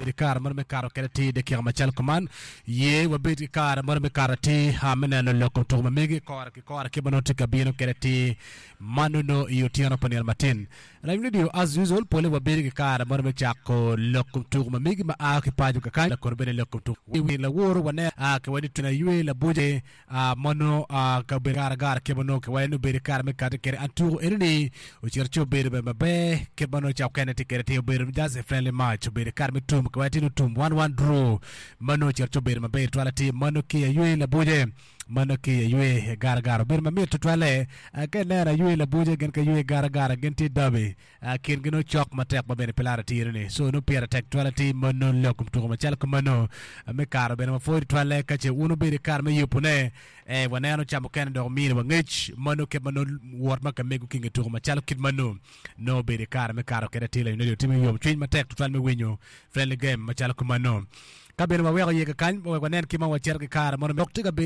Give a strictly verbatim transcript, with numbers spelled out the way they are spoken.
Wabed ki kare mono me kato kede atir dakika macalo kuman. Ye wabed ki kare mono me kato atir a me neno lok kom tuko ma megi kore ki kore kit ma nongo tye ka bino kede atir ma nongo i otyeno pa nino matin. Lawiny radio as usual pole wabedo ki kare mono me cako lok kom tuko ma megi ma a ki paco kakany kono bene lok kom tuko wi laworo waneno a ki wani tuna ywe labuce a ma nongo a ka obedo gara gara kit ma nongo ki wani obedo kare me kati kede an tuko eno ni ocito ci obedo bene maber kit ma nongo cako kene tye kede tye obedo just a friendly match obedo kare me tum ki wani tye tum one one draw ma nongo ocito ci obedo maber twal atir mano ki aywe labuce mano ki aywe gara gara obedo mamit tutwalle ka ineno aywe labuce gin ki aywe gara gara gin tye derby kin gi nongo cok matek ma bene pe laro atir ni so nongo pire tek twal atir mano lok kom tuko macalo kumano me karo bene ma pwod twale ka ce wun obedo i kare me yubone eh, waneno ca mukene dok omini wa ngec mano kit ma nongo wot ma ka mego ki nge tuko macalo kit mano nongo obedo i kare me kato kede atir la timo yom cwiny matek tutwal me winyo friendly game macalo kumano ka bene waweko ye kakany wek wanen kit ma wacito ki kare mono dok tye ka bedo